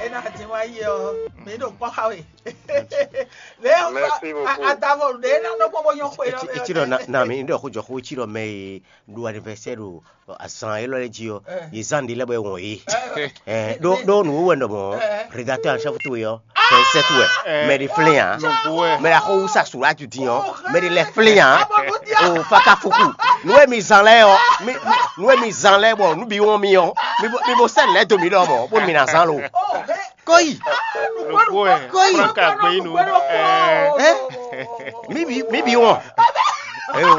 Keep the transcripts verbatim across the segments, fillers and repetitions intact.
Ná dín wá yi ɔ, mǐ ɖo kpɔ́ xa we. Mɛ Merci beaucoup. Adavo ɖe ná nɔ kpɔ́ bó nyɔ́ xwe lɔ. Etí ɖɔ na mi ɖɔ xó jɔ xó etí ɖɔ mɛ e ɖo anniversaire ɖo azan élɔ́ lɛ́ɛ jí ɔ́, yě zán ɖě lɛ́ɛ bɔ é wɔn yě. Ɖó ɖó nǔ wɛ ɖɔ mɔ̌, rédacteur en chef towe ɔ́, fɛnsɛ́ towe, mɛ ɖi flɛ́n ǎ. Mɛ ɖa xó wúsa sula ju din ɔ́, mɛ ɖi lɛ flɛ́n ǎ. O faka fuku. Nǔ e mi zán lɛ́ɛ ɔ́, mi- mi- nǔ e mi zán lɛ́ɛ bɔ nǔ bǐ wɔn mi ɔ́, mi bo- mi bo sɛ́ lɛ̌ dó mi ɖɔ mɔ̌, bónú mi ná zán lo. Kɔ́yi. Nukpó ɛ. Kɔ́yi. Frank Agbeyinu. Ɛ. Mi bǐ mi bǐ wɔn. Eyo.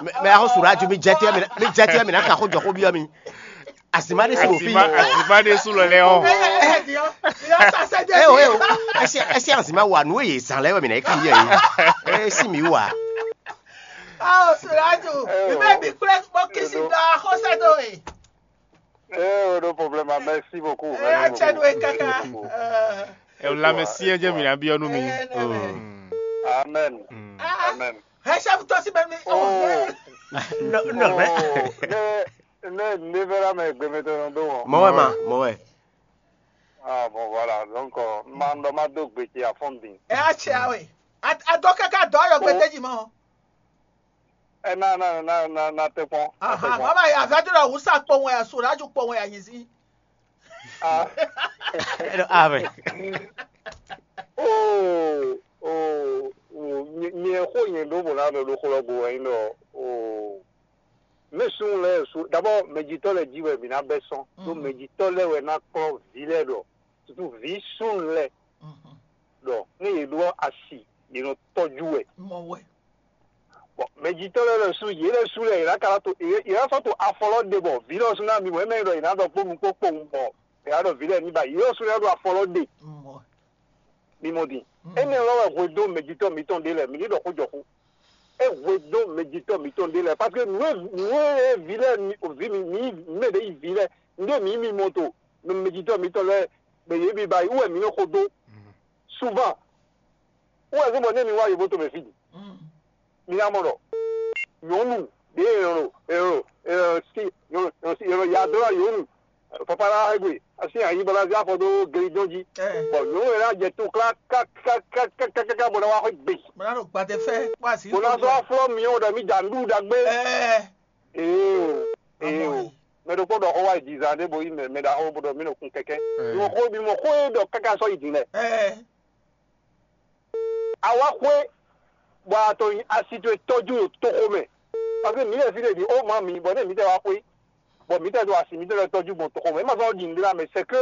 Mɛ mɛ axɔ́ sura ju mi jɛ tɛ mi mi jɛ tɛ mi na ka xó jɔ xó biɔ mi. Azima ɖe si o fi. Azima azima ɖe su lɔ lɛ ɔ. Eyo eyo. Ɛsɛ ɛsɛ azima wa nu eye zan lɛ wɛ mi na eki yɛ yi. Esi mi wa. Aw Suraju, mi bɛ bi kple kpɔ kisi dɔ axɔsɛ dɔ e. Eh, no problème, merci beaucoup. Eh, merci atsɛ beaucoup. Do e kaka. Merci beaucoup. Eh. Ɛ o lamɛsiɛ jɛ mi na biɔ nu mi. Eh, ne, ne. Mm. Amen. Mm. Ah, amen. Hɛ chef tɔ si bɛ mi. Oh. Oh. No, no, oh, ne ne ne vera me gbe me to no do. Mɔ wɛ ma, mɔ wɛ. Ah bon, voilà. Donc euh, ma ndo ma do gbe ti afɔn din. E a tse awe. A dɔ kaka dɔ yɔ gbe teji mɔ. Ɛ na na na na na te kpɔn. Aha, mama ya vɛ do la wusa kpɔn wɛ, so la ju kpɔn wɛ ya nyi si. Ah. Ame. Oh, oh, oh, nye nye xo nye ɖo mo na ɖo ɖo xlɔ go wɛ nyí ɖɔ oh. Mɛ sun lɛ su d'abord mɛjitɔ lɛ ji wɛ mi na bɛ sɔn. Ɖo mɛjitɔ lɛ wɛ na kɔ vi lɛ ɖɔ. Surtout vi sun lɛ. Ɖɔ ne yě ɖo asi yě nɔ tɔjú wɛ. Mɔ wɛ. Bɔn mɛjitɔ lɛ lɛ su yě lɛ su lɛ yě ná ka to yě yě ná sɔ́ to afɔ lɔ ɖe bɔ vǐ lɔ sú ná mi bɔ é mɛ nyí ɖɔ yě ná ɖɔ kpó nukpó kpowun bɔ yě ná ɖɔ vǐ lɛ ní ba yě lɔ sú ná ɖo afɔ lɔ ɖe. Mɔ. Mi mɔ din. Énɛ́ lɔ wɛ hwedó mɛjitɔ mitɔn ɖé lɛ mi ní ɖɔ xó jɔ xó. É hwedó mɛjitɔ mitɔn ɖé lɛ parce que nǔ e nǔ e vǐ lɛ mi vǐ mi mi mɛ ɖě yi vǐ lɛ nǔ e mi mi mɔ to mɛjitɔ mitɔn lɛ mɛ yě bi ba yi wɛ mi nɔ xó dó. Souvent wɛ zɔn bɔ ne mi wá yovo tɔn mɛ fí di mi ná mɔ ɖɔ nyɔnu ɖě èrò èrò èrò sí èrò sí èrò ya dó la yòónu papa la egbe asi anyi bɔ la zé afɔ dó geli dɔn jí bɔn nyɔnu yɛ la jɛ to kla kakakakaka bɔ na wa xɔ gbe Mwana ɖo gbadé fɛ kpó asi. Bɔ na sɔ aflɔ miɔ ɖɔ mi dza nuɖuɖu ɖagbe Ɛɛ. Ee o ee o mɛ ɖokpó ɖɔ xɔ wa yi dizan ɖé bo yi mɛ mɛ ɖaxó bo ɖɔ mi ɖo kun kɛkɛ mi mɔ xó mi mɔ xó e ɖɔ kaka sɔ yi din lɛ. Ɛɛ. Awa xwé bɔ a to asi towe tɔjú ɖo toxo mɛ. Parce que mǐ lɛ fí ɖe ɖi ó ma mǐ bɔ nɛ mǐtɛ́ wá xwé bɔ mǐtɛ́ ɖo asi mǐtɛ́ lɛ́ tɔjú gbɔn toxo mɛ. É ma zɔ́n ɖi nǔɖé ná mɛ, c'est que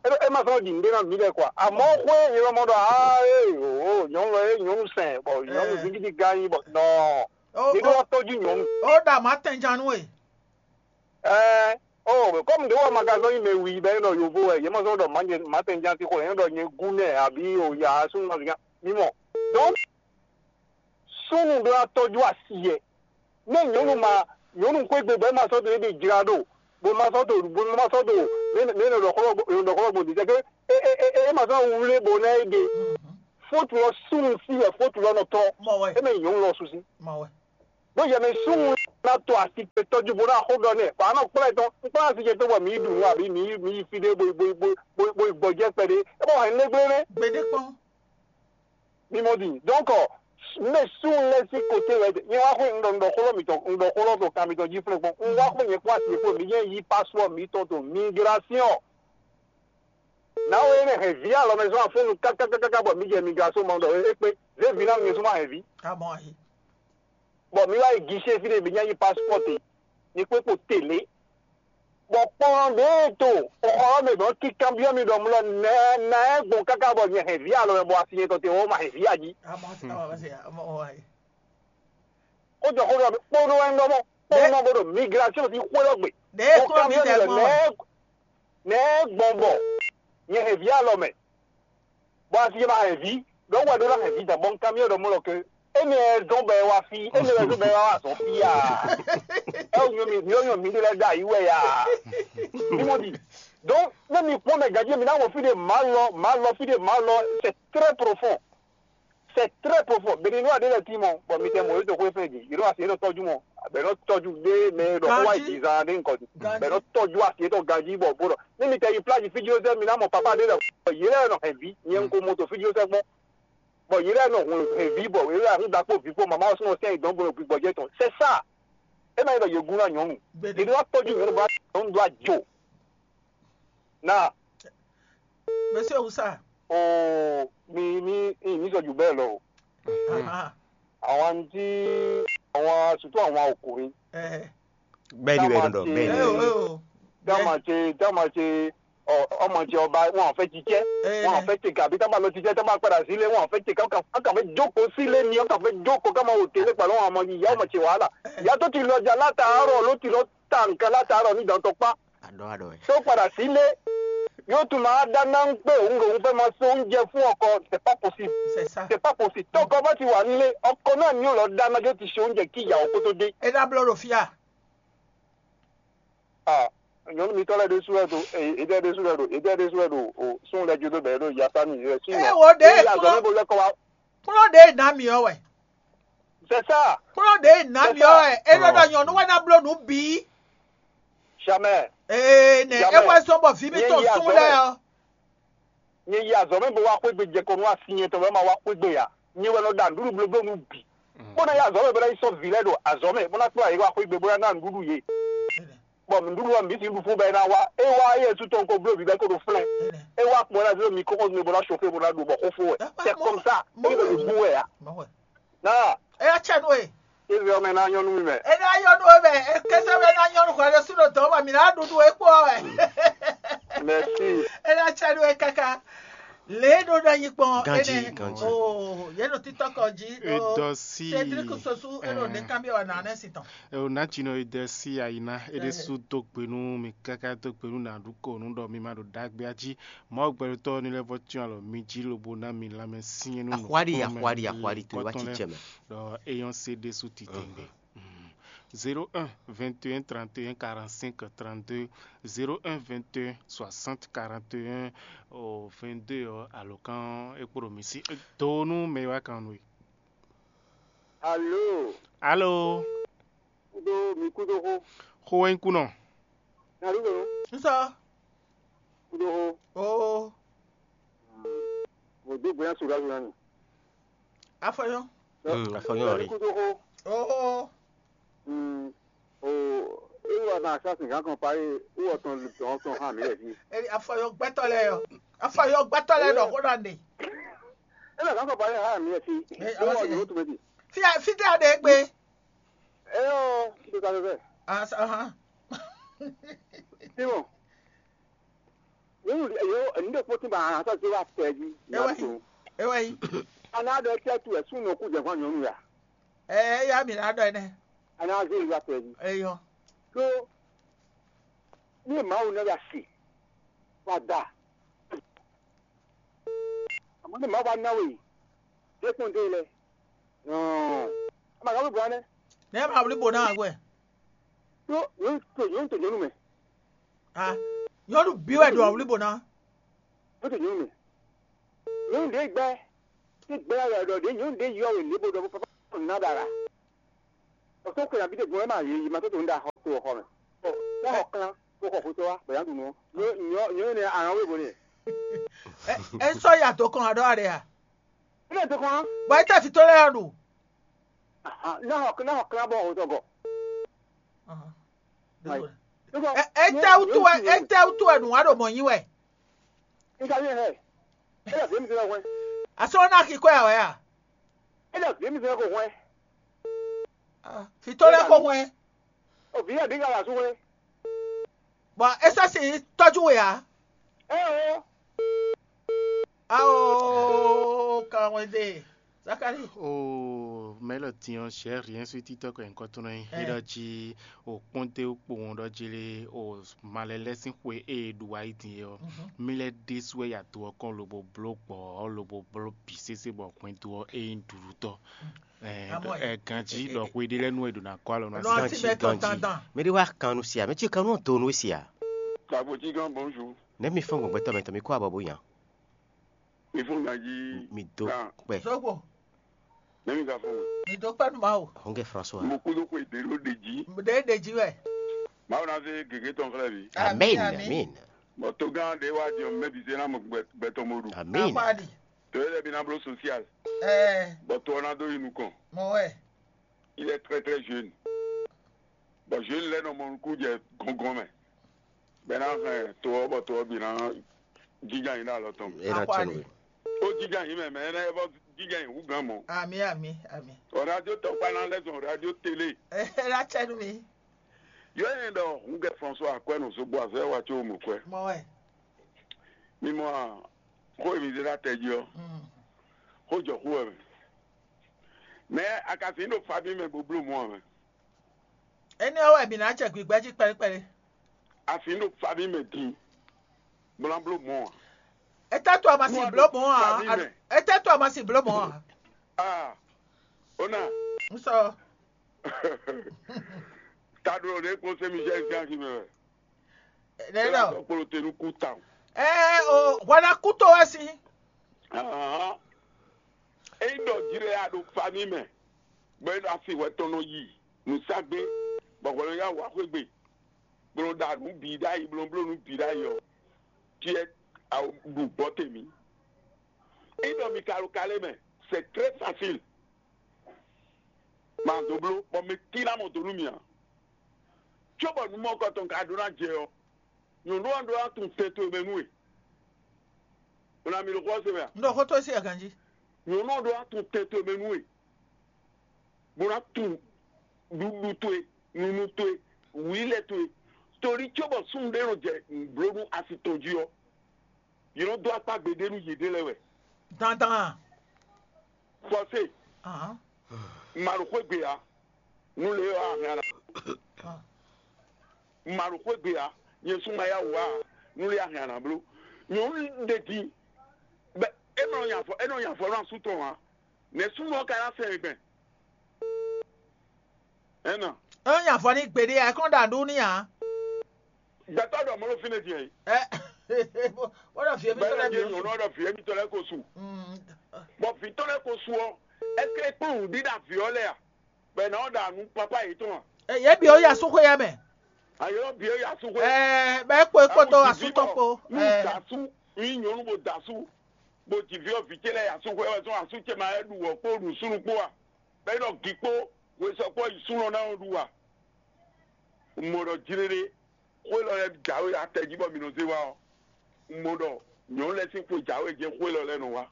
é ma zɔ́n ɖi nǔɖé ná mǐ lɛ́ quoi. Amɔ̌ xwé è nɔ mɔ ɖɔ aa ee o nyɔ̌nu lɔ é nyɔ̌nu sɛn bɔ nyɔ̌nu zingídi gán nyí bɔ nɔ mǐ ɖó wá tɔjú nyɔ̌nu. Ó ɖa mǎ tɛnjanu e. Ɛɛ, oh, comme ɖě wɛ ma ka zɔ́n nyí mɛ wi bɔ é nɔ yovo wɛ, yě ma zɔ́n ɖɔ mǎ tɛnján tí xo, yě nɔ ɖɔ nyɛ gúnɛ abǐ o ya súnnu ma zǐngán. Mi mɔ. Donc, súnnu ɖó ná tɔ́jú asi yɛ. Nú nyɔ̌nu ma nyɔ̌nu xwé gbe bɔ é ma sɔ́ dó é ɖe jlá ɖo, bó ma sɔ́ dó bó ma sɔ́ dó mɛ nɔ ɖɔ xlɔ́ gbɔn dǐtɛ́ ké é é é é ma sɔ́ wlé bó ná é ɖe. Fótu lɔ súnnu sí wɛ fótu lɔ nɔ tɔ́. Mɔ wɛ. É mɛ nyɔ̌nu lɔ sú sí. Mɔ wɛ. Bó yɛ mɛ súnnu ná to asi tɔjú bó ná xó ɖɔ nɛ bɔ anɔ kplá tɔn kplá asi jɛ tó bɔ mǐ ɖu nǔ abǐ mǐ mǐ yi fí ɖé bó bó bó bó bó yi gbɔjɛ kpɛɖé é bɔ hɛn nɛgbé nɛ. Gbeɖé kpɔn. Mi mɔ di donc mɛ súnnu lɛ sí kote wɛ nyɛ wá xó ŋɖɔ ŋɖɔ xóló mitɔn ŋɖɔ xóló to kan mitɔn jí flɛ́ kpɔn un wá xó nyɛ kpɔ́n asi fó mi nyɛ yí passeport mitɔn to migration. Nawe énɛ́ hɛn vǐ alɔmɛ zɔn afúnnu kákákáká bɔ mǐ jɛ migration mɔ ɖɔ é kpé zé vǐ ná nyɛ súnmọ́ hɛn vǐ. Amɔ ayi. Bɔ mǐ wá yi guichet fí ɖé mǐ nya yi passeport te ní kpé kpo télé. Bɔ kplɔn ɖě e to xɔ ɔ́ mɛ bɔ kíkanbyɔ́ mi ɖɔ mlɔ nɛɛ ná ɛ gbɔn káká bɔ nyɛ hɛn vǐ alɔmɛ bɔ asi nyɛ tɔn te wɔ ma hɛn vǐ ají. Amɔ amɔ amɔ ayi. Kó jɔ xó ɖɔ kpónɔ wɛ ŋgɔ mɔ kpónɔ bó ɖo migration sí xwé lɔ gbe. Ɖe é kó mi dɛ gbɔn wɛ. Nɛɛ gbɔn bɔ nyɛ hɛn vǐ alɔ mɛ. Bɔ asi ma hɛn vǐ ɖɔ wɛ ɖó ná hɛn vǐ dǎn bɔ un kanbyɔ́ ɖɔ mɔ lɔ ke énɛ́ zɔn bɔ ɛ wá fí énɛ́ wɛ zɔn bɔ ɛ wá wá zɔn fí a. Ɛ wò nyɔ mi mi nyɔ mi ɖe lɛ ɖo ayi wɛ ya. Mi mɔ di. Donc ne mi kpɔn mɛ gadji mi ná wɔ fí ɖe ma lɔ ma lɔ fí ɖe ma lɔ c'est très profond. C'est très profond. Béninois aɖe le ti mɔ, bɔ mi tɛ mɔ yóto xwé fɛn dzi, yóto asi yóto tɔjú mɔ, bɔ è nɔ tɔ́jú ɖé mɛ e ɖɔ xó wá yi Ganjí. Jǐzan ɖé nukɔn din, bɔ è nɔ Ganjí. Tɔ́jú asi yětɔn ganjí bɔ bó ɖɔ ní mi tɛ yi plá yi fíjlósɛ́ mi ná mɔ papá ɖé lɛ yě lɛ́ nɔ hɛn vǐ, nyɛ un ko mɔ to fíjlósɛ́ gbɔn, bɔ yě lɛ́ nɔ hun hɛn vǐ bɔ yě lɛ́ hun ɖakpó vǐ kpó mama ɔ́ súnɔ sɛn yi dɔn bó nɔ gbigbɔ jɛ tɔn c'est ça. É ma nyí ɖɔ yě gún ná nyɔ̌nu, Gbede. Yě ɖó wá tɔ́jú nyɔ̌nu bó ná nyɔ̌nu ɖó ajo. Náà Mɛsɛn wusa. Oo, mi mi mi sɔ jù bẹ́ẹ̀ lọ o. Àwọn tí àwọn sùtú àwọn ọkùnrin. Bẹ́ẹ̀ ni bẹ́ẹ̀ ni dọ̀ bẹ́ẹ̀ ni. Ẹ o ẹ o. Tí wọ́n máa ṣe tí wọ́n máa ṣe ọmọ ti ọba wọn ò fẹ́ jíjẹ́, wọn ò fẹ́ ṣe gàbí tí wọ́n máa lọ jíjẹ́ tí wọ́n máa padà sílé, wọn ò fẹ́ ṣe káwọn kàn fẹ́ jókòó sílé ni, wọn kàn fẹ́ jókòó káwọn máa wò télé pẹ̀lú àwọn ọmọ yìí, ìyá ọmọ ti wàhálà. Ìyá tó ti lọ jà látàárọ̀ ló ti lọ ta nǹkan látàárọ̀ ní ìdántọ́pá. Àdó àdó ẹ̀. Tó padà sílé, yóò tún máa dáná ń pé òun lòun fẹ́ máa se oúnjẹ fún ọkọ. C'est pas possible. C'est ça. C'est pas possible. Tọkọ bá ti wà nílé, ọkọ náà ni yóò lọ dáná yóò ti ṣe oúnjẹ kí ìyàwó kó tó dé. Ẹ dá bló ɖo fíà. Ah, nyɔnu mitɔ lɛ ɖésú lɛ ɖo, ede ɖésú lɛ ɖo, ede ɖésú lɛ ɖo o sun lɛ jodo bɛ ɖo yasa ni yɛ si. Ẹ wo ɖe Azɔ kplɔ́ mi bo lɛ kɔ wa. Kplɔ́ ɖe ná mi ɔ wɛ. C'est ça. Kplɔ́ ɖe ná mi ɔ wɛ. E ɖɔ ɖɔ nyɔnu wɛ ná bló nǔ bǐ. Jamais. Ee nɛ e wɛ sɔn bɔ vǐ mi tɔn sun lɛ ɔ. Nyɛ yi azɔ̌ mɛ bó wá xwé gbe jɛ kɔ nú asi nyɛ tɔn bɔ é ma wá xwé gbe ǎ. Nyɛ wɛ nɔ ɖa nǔɖuɖu blóbló nú bǐ. Bó ná yi azɔ̌ mɛ bó ná yi sɔ́ vǐ lɛ́ɛ ɖo azɔ̌ mɛ bó ná kplá yě wá xwé gbe bó ná ná nǔɖuɖu yě. Bɔ nǔɖuɖu ɔ́ mǐ sixú ɖu fún bɔ é ná wá. É wá éyɛ́ sú tɔn ko bló bǐ bɔ é ko ɖo flɛ́n. É wá kpɔ́n ná zé mi kókó mi bó ná sofé bó ná ɖu bɔ xó fó wɛ. C'est comme ça. É ko ɖo bú wɛ ǎ. Náà. Ɛ yá cɛ nú e. Israel mɛ ná nyɔ́ nú mi mɛ. E ná nyɔ́ nú e mɛ, e kɛsɛ mɛ ná nyɔ́ nú hwɛ ɖé sú ɖo dɔ̌n bɔ mǐ ná ɖuɖu e kpó ɔ́ wɛ. Merci. E ná cɛ nú e káká. Lě e ɖó ná nyi kpɔn Ganji, énɛ́. Ganji. Oo, yě ɖo títɔ́kɔ jí ɖó Edɔsi. Cédric Sosu e ɖo nɛ̌ kanbyɔ́ wɛ nǎ nɛ́ si tɔn. Eo ná tsi nɔ Edɔsi ayina, e ɖésú dó gbe nú mi káká dó gbe nú nǎɖúkɔ nú ɖɔ mi ma ɖo ɖagbe jí. Mawu gbɛɖotɔ́ ní lɛ́ vɔ cyɔ́n alɔ mi jí lobo ná mi lanmɛ syɛ́n nú Axwáɖi, axwáɖi, axwáɖi, to wá ci cɛ mɛ. Ɖɔ eyɔn se ɖésú titewungbe. Zéro un vingt et un trente et un quarante-cinq trente-deux, zéro un vingt et un soixante quarante et un vingt-deux ɔ alɔkan e kpo ɖo mi sí. Do nú mɛ e wá kan nú we. Alo. Alo. Kudo mi kudo xo. Xo wɛ nyí kunɔ. Naɖu ɖo. Nsɔ. Kudo xo. Oo. Mo do gbe na sora sora ni. Afɔyɔ. Mm, afɔyɔ ri. Kudo xo. Oo. Mm. O. Ewa na sa sin kan kan pa e. Ewa tɔn tɔn tɔn ha mi lɛ fi. Eri afɔyɔ gbɛtɔ lɛ yɔ. Afɔyɔ gbɛtɔ lɛ dɔ xo na ne. Ewa kan kan pa e ha mi lɛ fi. Ewa yɔ to mɛ fi. Fi fi de ade gbe. Eyɔ, kí ló ka fẹ́ fẹ́? Asa hàn. Simon, nínú yóò ẹni tó kpótó bá a sọ sí wa tẹ̀ jí. Ewé yìí. Ewé yìí. Ana dɔ tẹ́ tu ẹ̀ sún nù kú jẹ̀ fún àyànnú yà. Ẹ ẹ yá mi nà dọ̀ ẹ nẹ. Ana zé ìwà tẹ̀ jí. Eyọ. Tó ní màá wò náà yà sí. Wà dà. Àmọ́ ní màá wà náwó yìí. Dé kún dé lẹ. Ama ka wuli bwana. Ne ma wuli bo na agwe. Yo yo to yo to nyɔnu mɛ. Ah, nyɔnu bi wɛ do wuli bo na. Yo to nyɔnu mɛ. Nyɔnu de gbɛ. Ti gbɛ ya yɔ de nyɔnu de yɔ we le bo do papa na dara. O to ko ya bi de gbɔn ma ye ma to to nda ho to ho me. O ya ho kan ko ko ho to wa bo ya du no. Yo yo yo ne a we bo ne. E sɔ ya to kan adɔ are ya. Ilé tó kàn. Bɔ é tẹ̀ fi tó lẹ́yìn ọ̀dùn. Náà náà kíláàbọ̀ ọ̀hún tọ̀gọ̀. Ẹ tẹ́ wútu ẹ ẹ tẹ́ wútu ẹ nù wá ɖo mọ̀ yín wẹ̀. Nígbà yẹn hẹ, ẹ lọ sí mi sọ fún ẹ. Àsọ̀rọ̀ náà kì í kọ́ ẹ̀ wẹ̀ à. Ẹ lọ sí mi sọ fún ẹ. Fi tó lẹ́ kó fún ẹ. Òfin yẹn bí gàlà sún ẹ. Bɔn é sɔ́ sin tɔ́jú we ǎ. Ao kan wɛn de Zakari. O mɛ lɔ tiɲɔ sɛ rien suit titɔ kɔ nyikɔ tɔn yi. Ɛ ɖɔ ji o kpɔnte kpowun ɖɔ ji le o malɛ lɛ sin xwe e ɖu ayi din yɛ ɔ. Mi lɛ ɖe su wɛ ya do ɔkɔn lobo blo gbɔ lobo blo bi sese bɔ gbɛn do ɔ e yin ɖuɖu tɔ. Ɛ ganji ɖɔ xwe ɖe lɛ nu e ɖo na kɔ alɔ na. Nɔ asi bɛ tɔ dandan. Mɛ ɖe wa kan nu sia mɛ tsi kan nu do nu sia. Kaboti gan bonjour. Ne mi fɛn gbɔngbɛtɔ mɛ tɔ mi kó abɔ bo yan. Mi fún ganji. Mi do kpɛ. Sogbo. Nɛ̌ mi ka fɔ́n? Mi dó kpɛ́ nú Mawu. Hɔngɛ François. Mo kúdó xwe ɖě ɖó ɖe jí. Ɖě ɖe jí wɛ. Mawu ná zé gěgé tɔn xlɛ́ mi. Amen. Amen. Bɔ togán ɖé wá jɛ mɛ bǐ zé ná mɔ gbɛtɔ́ mo ɖu. Amen. Akpáɖi. To yɛ lɛ́ bí ná bló social. Ɛɛ. Bɔ to ɔ́ ná dó yi nukɔn. Mɔ wɛ. Il est très très jeune. Bɔ jeune lɛ́ nɔ mɔ nukún jɛ gɔngɔn mɛ. Bɛ ná hɛn to ɔ́ bɔ to ɔ́ bǐ ná jínjɔ́n ayǐ ɖo alɔ tɔn mɛ. É ná Akwa tɔ́ nú ɖe. We. Ó jínjɔ́n ayǐ mɛ, mɛ énɛ́ é vɔ jínjɔ́n ayǐ hú gán mɔ̌. Ami, ami, ami. Ɔ radio tɔkpa ná lɛ́ zɔn radio télé. Ela cɛ nú mi. Yɔ ɛnɛ ɖɔ húngɛ François akwɛ́ nɔ zogbo azɔ̌ wa có mɔ kwɛ. Mɔ wɛ. Mi mɔ a, xó e mi zé ɖo atɛ jí ɔ́, Mm. Xó jɔ xú wɛ mɛ. Mɛ a ka fin ɖo fabí mɛ bó bló mɔ ɔ́ mɛ. Énɛ́ ɔ́ wɛ mǐ ná jɛ gbǐgbɛ́ jí kpɛɖékpɛɖé. A fin ɖo fabí mɛ din, bó ná bló mɔ ɔ́. Etɛ́ to a ma sin bló mɔ̌ ǎ? Etɛ́ to a ma sin bló mɔ̌ ǎ? Ah, ó ná. Un sɔ. Taɖo ɖě kpɔ́n sɛ́ mi jẹ́ gán jí mɛ wɛ. Lɛ́ Ela lɔ. Sɔ kpló te nú kú tawun. Ɛɛ o, hwɛ ná kú tó wɛ sín. Ahán. Ényí ɖɔ jlɛ a ɖo fami mɛ, bɔ é ɖo asi hwɛ tɔn nɔ yi nǔságbé, bɔ hwɛ nɔ yá wǎ xwé gbe, bó nɔ ɖa nǔ bǐ ɖ'ayǐ, bó nɔ bló nǔ bǐ ɖ'ayǐ ɔ́, tiɛ a ɖu gbɔ te mǐ. Ényí ɖɔ mi ka ɖo kalé mɛ, c'est très facile. Ma dó bló, bɔ mɛ tín ná mɔ dó nú mì ǎ. Cóbɔ nǔ mɔkɔtɔn ka ɖó ná jɛ ɔ́, nyɔ̌nu ɔ́ ɖó ná tunwun tɛn towe mɛ nú we. Un ná mi ɖo xó ɔ́ se mɛ a? Un ɖo xó towe sí aganjí. Nyɔ̌nu ɔ́ ɖó ná tunwun tɛn towe mɛ nú we, bó ná tunwun ɖuɖu towe, nunu towe, wǐlɛ towe. Torí cóbɔ súnnu ɖé nɔ jɛ nǔbló nú asi tɔn jí ɔ́, yě nɔ dó akpá gbeɖé nú yěɖée lɛ́ɛ wɛ. Dandan. Fɔsé. Ahán. Ma ɖo xwé gbe ǎ, nú le ɔ́ a hɛn a nǎ. Ah. Ma ɖo xwé gbe ǎ, nyɛ sú ma yá wǔ ǎ, nú le a hɛn a nǎ bló. Nyɔ̌nu ɖe din, bɛ é nɔ nya avɔ, é nɔ nya avɔ nú asú tɔn ǎ. Nɛ̌ súnnu ɔ́ ka ná sɛn gbɛn? Ɛnɔ. É nɔ nya avɔ ní gbeɖé ǎ, é kɔn ɖo aɖú ní ǎ. Gbɛtɔ́ ɖɔ mɔ̌ ɖo fínɛ́ din ɛ? Ɛ, wọ́n ɖɔ fìyɛ mi tɔlɛ Bɛlɛ mi. Nyɔnu ɔ́ ɖɔ vǐ émítɔn lɛ́ɛ ko su. Mm. Bɔ vǐ tɔn lɛ́ɛ ko su ɔ́, ɛsɛ é kplɔ́n nǔɖiɖa vǐ ɔ́ lɛ́ɛ a? Bɛ nǎ ɔ́ ɖa nǔ papá yětɔn a? Ɛ, yě bǐ ó yi asúxwé ya mɛ. Ayɔ bǐ ó yi asúxwé. Ɛ, bɛ é kpo é kpódó asú tɔn kpo. Nú dasú nyí nyɔ̌nu bo dasú, bo ji vǐ ɔ́ vǐ ce lɛ́ɛ yi asúxwé wɛ zɔn asú ce ma wɛ ɖu wɔ̌ kpó nǔsúnnú kpó a? Bɛ é nɔ gi kpó hwesɔ kpó yi súnɔ ná ɔ́ ɖu a? Un mɔ ɖɔ jlé ɖé, xwé lɔ lɛ́ɛ jǎwe atɛ jí bɔ mi nɔ zé wá ɔ́, un mɔ ɖɔ nyɔ̌nu lɛ́ɛ sín xwe jǎwe jɛ́n xwé lɔ lɛ́ɛ nɔ wá.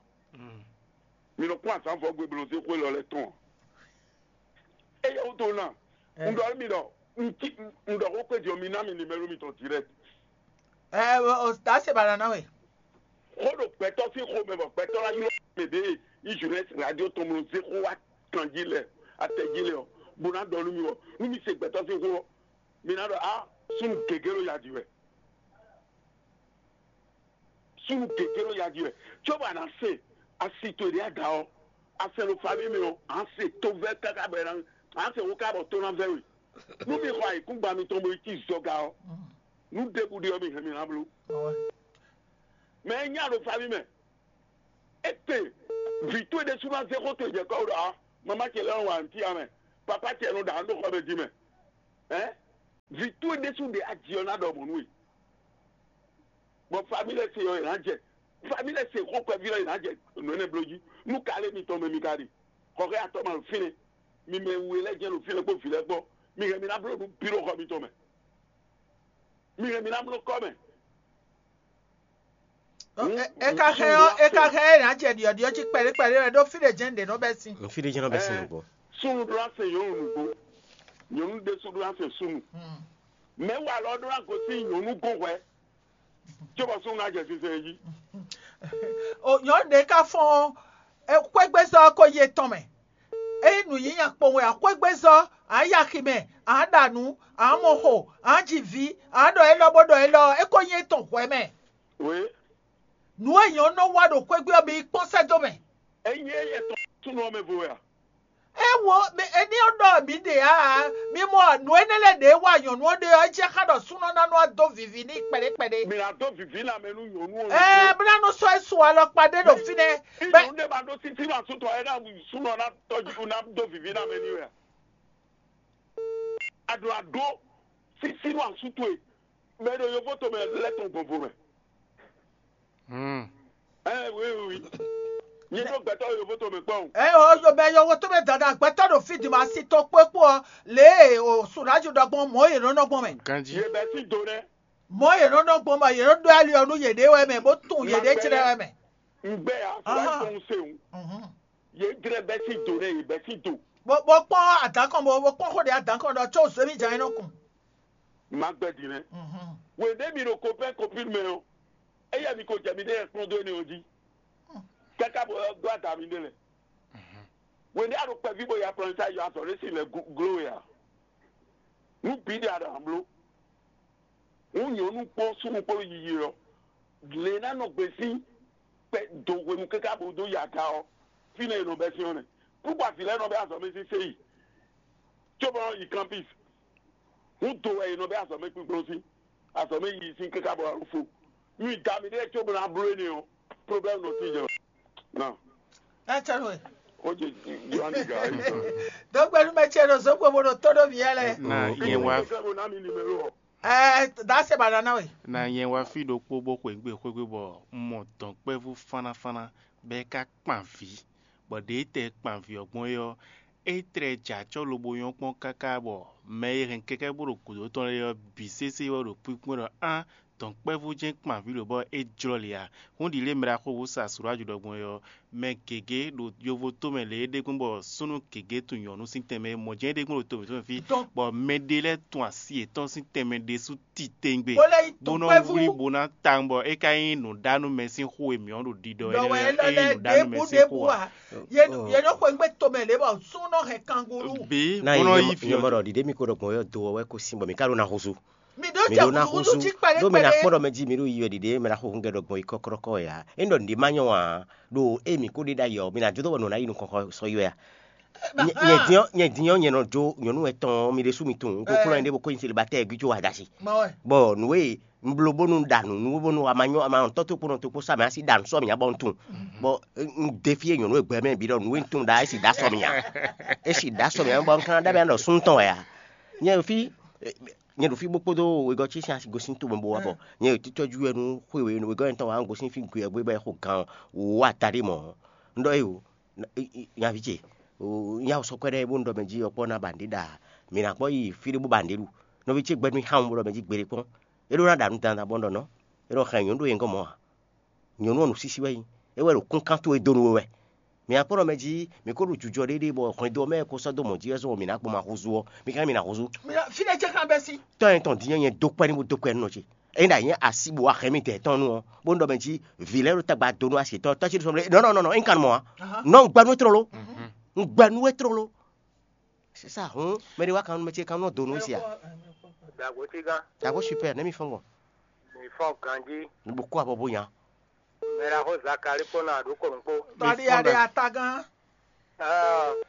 Mi nɔ kún azǎn vɔ́ gbe bó nɔ zé xwé lɔ lɛ́ɛ tɔn ǎ. Éyɛ́ wútu ná, un ɖɔ mi ɖɔ un cí un ɖɔ xó kpé jɔ mi ná mi nimɛ́lo mitɔn direct. Ɛ, o, o, ta se bana na we. Xó ɖo gbɛtɔ́ sín xomɛ bɔ gbɛtɔ́ ná ylɔ́ mɛ ɖě yi jeunesse radio tɔn mlɔ zé xó wá kan jí lɛ, atɛ jí lɛ ɔ́, bó ná ɖɔ nú mi ɔ́, nú mi se gbɛtɔ́ sín xó ɔ́, mi ná ɖɔ á súnnu gěgé ɖo ya ji wɛ. Súnnu gěgé ɖo ya ji wɛ. Cóbɔ a nǎ se asi towe ɖě a da ɔ́, a sɛn ɖo fami mɛ ɔ́, a nǎ se tóvɛ́ káká bɔ è nǎ a nǎ se xó ká bɔ tó ná vɛ́ we. Nú mi xɔ ayǐkúngban mitɔn bo yi cí zɔga ɔ́, nǔ ɖěbǔ ɖe ɔ́ mi hɛn mi ná bló. Mɛ e nya ɖo fami mɛ, é te vǐ towe ɖésú ná zé xó towe jɛ kɔ́ ɖɔ a mamá ce lɛ́ɛ nɔ wa nǔ cyán mɛ, papá ce nɔ ɖa nǔ ɖo xɔ mɛ din mɛ. Hɛn vǐ towe ɖésú ɖe aji ɔ́ ná ɖɔ mɔ̌ nú we. Bɔ famílɛ se ɔ́, è nǎ jɛ famílɛ se xó kpɛví ɔ́, è nǎ jɛ nǔ énɛ́ bló jí. Nú kalé mitɔn mɛ mi ka ɖe, xɔxɛ atɔ́ ma ɖo fínɛ́, mi mɛ we lɛ́ɛ jɛ́n ɖo fínɛ́ kpó vǐ lɛ́ɛ kpó, mi hɛn mi ná bló nǔ bǐ ɖo xɔ mitɔn mɛ. Mi hɛn mi ná bló kɔ́ mɛ. Ɔ, e- e ka xɛ ɔ́, e ka xɛ ɛ ná jɛ ɖiɔɖiɔ jí kpɛɖé kpɛɖé wɛ ɖó fí ɖé jɛ́n ɖě nɔ bɛ́ sin. Fí ɖé jɛ́n nɔ bɛ́ sin nǔgbó. Súnnu ɖó ná se nyɔ̌nu nǔgbó. Nyɔ̌nu ɖésú ɖó ná se súnnu. Mɛ̌ wa lɔ ɖó ná gosín nyɔ̌nu gɔ́n hwɛ̌, cóbɔ súnnu ná jɛ sinsɛn jí. O nyɔ̌nu ɖě ka fɔ́n ɔ́, xwégbézɔ́ ko yi etɔn mɛ. Ényí nǔnyínya kpowun wɛ ǎ, xwégbézɔ́, ǎ yi axi mɛ, ǎ ɖa nǔ, ǎ mɔ xo, ǎ ji vǐ, ǎ ɖɔ élɔ́ bó ɖɔ élɔ́ ɔ́, é ko nyí étɔn hwɛ̌ mɛ. Wě. Nǔ e nyɔ̌nu nɔ wa ɖo xwégbé ɔ́ bǐ yi kpɔ́n sɛ́ dó mɛ. Ényí é yɛ tɔn súnnu ɔ́ mɛ vo wɛ a? É wo, mi- é ní ɔ́ ɖɔ mǐ ɖe ǎ, mi mɔ nǔ énɛ́ lɛ́ɛ ɖě wa nyɔ̌nu ɔ́ ɖe ɔ́, é jɛ xá ɖɔ súnɔ ná nɔ wá dó vivi n'i kpɛɖé kpɛɖé. Mi ná dó vivi lanmɛ nú nyɔ̌nu ɔ́. Ɛɛ, bó ná nɔ sɔ́ é su alɔkpa ɖé ɖo fínɛ́. Bɛ́ Nyɔ̌nu ɖé ma ɖó sísí nɔ asútɔ ɛ ná súnɔ ná tɔjú ná dó vivi lanmɛ n'i wɛ a? A ɖo aɖó sísí nɔ asútɔ e mɛ ɖo yovo tomɛ lɛ́ tɔn gbɔnvo mɛ. Hmm. Ɛ wi wi wi. Nyɛ ɖo gbɛtɔ́ yovo tomɛ kpɔ́n. Ɛ o yo bɛ yɔwɔ tó bɛ dada gbɛtɔ́ ɖo fí di ma si tɔn kpó kpó ɔ lě e o sùnájú ɖɔgbɔn mɔ̌ yě nɔ nɔ gbɔn mɛ. Ganji. Yě bɛ sín do nɛ. Mɔ̌ yě nɔ nɔ gbɔn mɛ yě nɔ ɖó ali ɔ́ nú yěɖée wɛ mɛ bó tunwun yěɖée clɛ́ wɛ mɛ. Un gbɛ ya sùnájú tɔn un se o. Mhm. Yě jlɛ bɛ sín do nɛ yě bɛ sín do. Bó bó kpɔ́n adǎn kɔn bó bó kpɔ́n xó ɖě adǎn kɔn ɖɔ có zěmí jǎn é nɔ kun. Má gbɛ din nɛ. Mhm. Wěɖé mi ɖo kopɛ́n kopín mɛ ɔ́, éyɛ́ mi ko jɛ miɖée kplɔ́n dó énɛ́ ɔ́ jí. Káká bɔ ɔ́ dó ada miɖée lɛ. Wěɖé a ɖo kpɛví bɔ ya plɔn sa yɔ azɔ̌ ɖé sin lɛ gló we a? Nú bǐ ɖe a ɖo ambló. Hǔn nyɔ̌nu kpó súnnu kpó yiyi ɔ́, lě ná nɔ gbe sín kpɛ do hwenu káká bó dó yi aga ɔ́, fínɛ́ è nɔ bɛ́ sín ɔ́ nɛ́. Kúkú avǐ lɛ́ɛ nɔ bɛ́ azɔ̌ mɛ sín séyi, cóbɔ nɔ yi kanpis. Hǔn do wɛ è nɔ bɛ́ azɔ̌ mɛ kpíkplɔ́n sín, azɔ̌ mɛ yiyi sín káká bɔ alɔ fo. Nú yi da mi ɖée cóbɔ ná bló énɛ́ ɔ́, problème nɔ tín jɛ. Nɔ. Ɛ cɛ nɔ ɛ. Ó jẹ Yohane gǎ é sɔ. Dɔgbɛnu mɛ cɛ ɖo zokpo bó ɖo tó ɖó mǐ yɛ lɛ. Na nyɛ wá Sɛ bo ná mi numéro ɔ. Ɛ da se ba nana we. Na nyɛ wá fí ɖokpó bó xweyǐgbe xwégbe bɔ un mɔ dɔ̌nkpɛvú fánnáfánná bɔ é ka kpan vǐ, bɔ ɖě tɛ kpan vǐ ɔ́ gbɔn é ɔ́, é tlɛ jɛ acɔ́ lobo nyɔ́ kpɔ́n káká bɔ mɛ e hɛn kɛkɛ́ bó ɖo gǔdo tɔn lɛ́ɛ ɔ́ bǐ sésé wɛ ɖo kpínkpɔ́n ɖɔ á dɔ̌nkpɛvú jɛ́n kpan vǐ lǒ bɔ é jlɔ́ lě ǎ. Hǔn ɖi lě e mɛ ɖaxó Wusa Suraju ɖɔ gbɔn é ɔ́, mɛ gěgé ɖo yovo tomɛ lě e ɖe gbɔn bɔ súnnu gěgé tunwun nyɔ̌nu sín tɛnmɛ é mɔ jɛ́n é ɖe gbɔn ɖo tomɛ tɔn fí, bɔ mɛ ɖé lɛ́ɛ tun asi yětɔn sín tɛnmɛ ɖésú titewungbe, bó lɛ́ yi bó nɔ wlí bó ná tawun bɔ é ka nyí nǔɖánúmɛ sín xó e mǐ ɔ́ ɖo ɖiɖɔ é lɛ́ɛ é nyí nǔɖánúmɛ sín xó ǎ. Yě nɔ xweyǐgbe tomɛ lě bɔ súnnu nɔ hɛn kanguru. Bǐ bó nɔ yí fí ɔ́. Nyɔmɔ ɖɔ ɖiɖe mi ko ɖɔ gbɔn yɔ do ɔ́ wɛ ko sín bɔ mi ka ɖo na húzú. Mi ɖó mi jɛ ɖó ná húzú húzú jí kpɛɖé ɖó mi ná kpɛɖé. Kpɔ́ ɖɔ mɛ jí mi ɖó yi wɛ ɖiɖe mɛ ná xo húngɛ ɖɔ gbɔn yi kɔ́kɔ́kɔ́ ya. É ɖɔ nǔɖé má nyɔ ǎ ɖo ée mi kó ɖe ɖ'ayǐ ɔ́, mi ná jó dó bɔ nǔ ná yi nukɔn xɔ sɔ yi wɛ a? Nyɛ- nyɛ din ɔ́ nyɛ din ɔ́ nyɛ nɔ jó nyɔ̌nu etɔn ɔ́ mi ɖésú mi tunwun un ko kplɔ́n nyɛ ɖé bó kó nyi selibatɛ́ɛ gbíjó adashi. Bɔ nǔ e un bló bónú ɖa nǔ nú bónú a ma nyɔ́ a ma nɔ tɔ́ tó kpónɔ tó kpó sá mɛ á sí ɖa nǔ sɔ́ mǐ nya bɔ un tunwun. Bɔ un défíé nyɔ̌nu e gbɛ mɛ bǐ ɖɔ nǔ e un tunwun ɖa é sì ɖa sɔ́ mǐ nya. É sì ɖa sɔ́ mǐ nya bɔ un ka ná ɖɔ mǐ ɖɔ súnnu tɔn wɛ a? Nyɛ ɖo fí nyɛ ɖo fí bó kpódó wegɔ́ ce sín asi gosín tomɛ bó wá bɔ nyɛ ɖo títɔ́jú wɛ nú xwe wegɔ́ nyɛtɔn wá gosín fí gbe ɔ́ gbé bɔ é xo gan wǒ ata ɖé mɔ̌. Un ɖɔ éyo nyaví ce nya sɔkpɛ́ ɖɛ́ bó un ɖɔ mɛ jí ɔkpɔ́ ná ba nǔɖé ɖa mǐ ná kpɔ́ yi fí ɖé bó ba nǔɖé ɖu. Nɔví ce gbɛ́ mì xá wun bó ɖɔ mɛ jí gbeɖé kpɔ́n. É ɖó ná ɖa nǔ dandan bó un ɖɔ nɔ́ é ɖɔ xɛ nyɔ̌nu ɖo nyɛ gɔ́n mɔ̌ a? Nyɔ̌nu ɔ́ nǔsísí wɛ nyí é wɛ ɖo kúnkan towe dó nú we wɛ. Mǐ akpɔ́nɔ mɛ jí mǐ ko ɖo jujɔ ɖéɖé bɔ hwɛndo ɔ́ mɛ ko sɔ́ dó mɔ̌ jí wɛ zɔn mǐ ná gbɔn ma húzú ɔ́, mi ka mǐ ná húzú. Fínɛ́ jɛ kan bɛ́ sí. Tɔ́ nyɛ tɔn din ɔ́ nyɛ dó kpɛ́ ní bó dó kpɛ́ nú nɔ ce. Ényí ɖo nyɛ asi bó wá hɛn mì dɛ̌ tɔn nu ɔ́, bó ɖɔ mɛ jí vǐ lɛ́ɛ ɖo tagba dó nú asi tɔn tɔ́ cí ɖo sɔmlé nɔ nɔ nɔ nɔ é kan mɔ ǎ. Nɔ un gbɛ nú we tlóló. Un gbɛ nú we tlóló. C'est ça, hǔn mɛ ɖé wá kan nú mɛ ce kan nɔ dó nú we sia. Dàgbò tí gán. Dàgbò super nɛ́ mi fɔ́n gbɔn. Mi fɔ́n ganjí. Mi bo kó abɔ bó nya. Mɛ ɖaxó Zakali kpó nɔ aɖǔ ko nǔkpó. Tɔɖi aɖe atagán.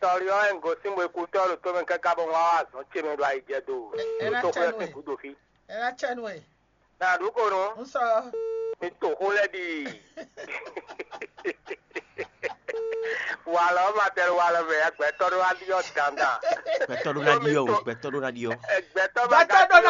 Tɔlí ɔ́, é un gosín bo kú tɔ́ ɖo tómɛ káká bɔ un wá wá azɔ̌ ce mɛ ɖo ayijɛ do. Ɖo tó xwé ɔ́ sín gǔdo fí. Ɛ ná cɛ nú ɛ. Nà ɖǔ ko nú. Un sɔ. Mi to xó lɛ́ɛ ɖi. Walɔ ma tɛ walɔ mɛ ya gbɛtɔ́ ɖó wá ɖiɔ dandan. Gbɛtɔ́ ɖó ná ɖiɔ o, gbɛtɔ́ ɖó ná ɖiɔ. Gbɛtɔ́ ma ka ɖó ná